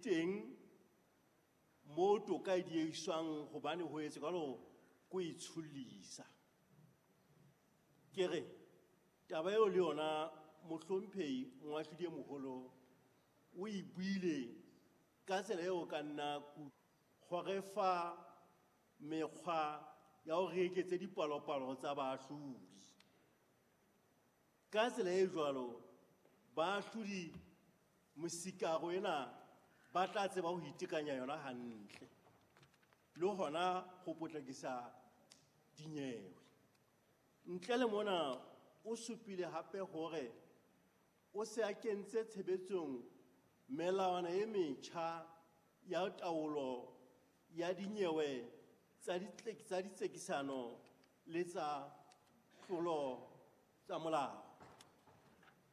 Teng mo toka e diehiswang hobane ho etse jwalo ko itshollisa. Ke re taba eo le yona mohlomphehi moahlodi e moholo o e buile ka tsela eo ka nna hore fa mekgwa ya hore re eketse dipalopalo tsa baahlodi. Ka tsela e jwalo baahlodi mosikaro ena ba tla tseba ho itekanya yona hantle le hona ho potlakisa dinyewe. Ntle le mona o supile hape hore o se a kentse tshebetsong melawana e metjha ya taolo ya dinyewe tsa ditsekisano le tsa tlolo tsa molao.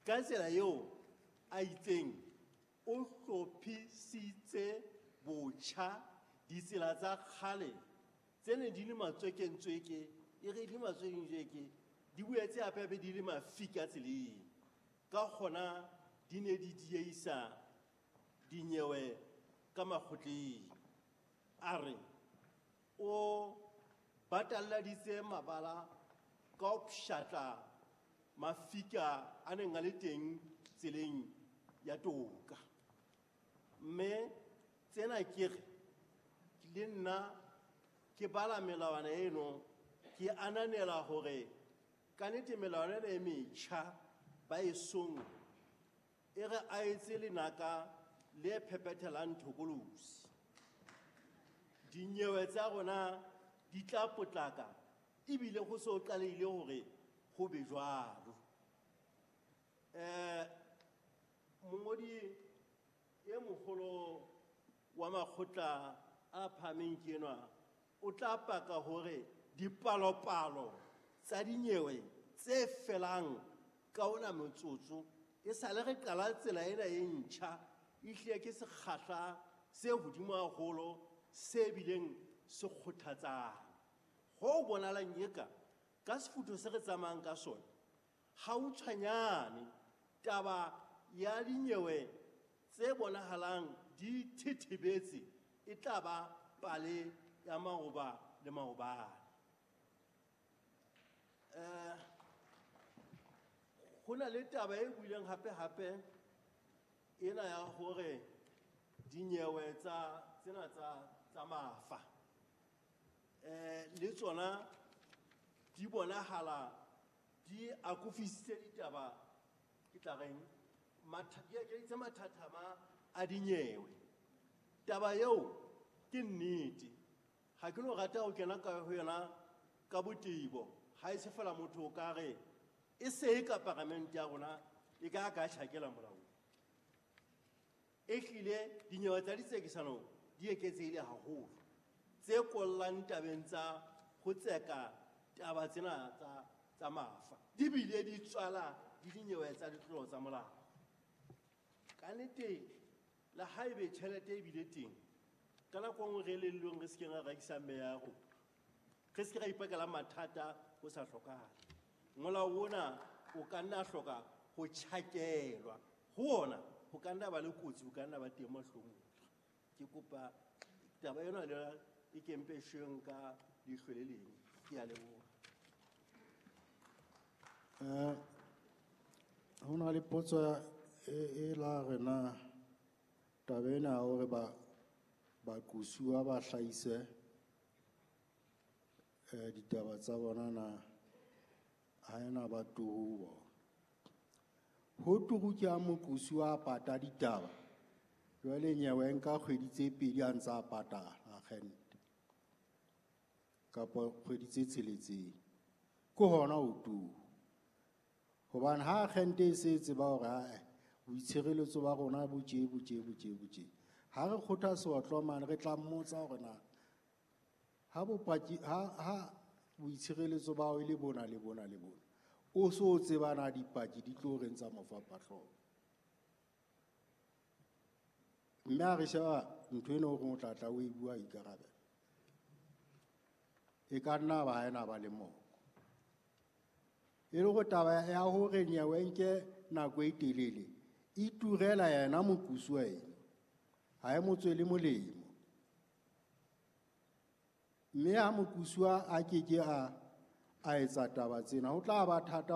Ka tsela eo a itseng o hlophisitse botjha ditsela tsa kgale tse neng di le matswekentsweke, e re di matswekentsweke, di boetse hape hape di le mafika tseleng. Ka hona di ne di dieisa dinyewe ka makgotleng. A re o batalladitse mabala ka ho pshatla mafika a neng a le teng tseleng ya toka. Mme tsena ke re le nna ke bala melawana eno ke ananela hore ka nnete melawana ena e metjha ba e song e re a etse lenaka le phepethelang thokolosi. Dinyewe tsa rona di tla potlaka ebile ho so qalehile hore ho be jwalo. Mongodi e moholo wa makgotla a phahameng ke enwa o tla paka hore dipalopalo tsa dinyewe tse felang ka ona motsotso e sale re qala tsela ena e ntjha ehlile ke sekgahla se hodimo haholo se bileng se kgothatsang. Ho bonahalang eka ka sefutho se re tsamayang ka sona hautshwanyane taba ya dinyewe tse bonahalang di thethebetse e tla ba pale ya maoba le maobane. Ho na le taba e buileng hape hape ena ya hore dinyewe tsa tsena tsa mafa le tsona di bonahala di akofisitse ditaba ke tla reng di ekeditse mathathama a dinyewe. Taba eo ke nnete, ha ke no rata ho kena ka ho yona ka botebo, ha e se fela motho o ka re e se e ka paramente ya rona e ka ka tjhakela molaong. Ehlile dinyewe tsa ditsekisano di eketsehile haholo tse kollang tabeng tsa ho tseka taba tsena tsa mafa di bile di tswala di dinyewe tsa ditlolo tsa molao. Ka nnete le haebe tjhelete e bile teng ka nako e nngwe re elellweng re se ke ra rekisa meaho, re se ke ra ipakela mathata ho sa hlokahale. Molao ona o ka nna hloka ho tjhakelwa ho ona, ho ka nna ba le kotsi, ho ka nna ba teng mahlomong. Ke kopa taba ena le yona e kempeshweng ka leihlo le leng. Ke a leboha. Ho na le potso e la re na taba ena ya hore baqusuwa ba hlahise ditaba tsa bona na ha ena ba turu bona. Ho turu ke ha moqusuwa a pata ditaba, jwale nyewe e nka kgwedi tse pedi a ntse a patala akgente kapa kgwedi tse tsheletseng, ke hona ho turu. Hobane ha akgente e se e tseba hore ae boitshireletso ba rona bo tje, bo tje, bo tje, bo tje, ha re kgotha seotlo mane re tla mmotsa hore na ha bopaki, ha boitshireletso ba hao e le bona le bona le bona, o so o tseba na dipaki di tlo reng tsa mofapahlooho. Mme ha re sheba ntho ena o reng o tla tla o e bua ikarabela, e ka nna ba ha ena ba le moko. E le hore taba ya hore nyewe nke nako e telele e turela yena moqusuwa ena. Ha e mo tswele molemo. Mme ha moqosuwa a ke ke a etsa taba tsena, ho tla ba thata.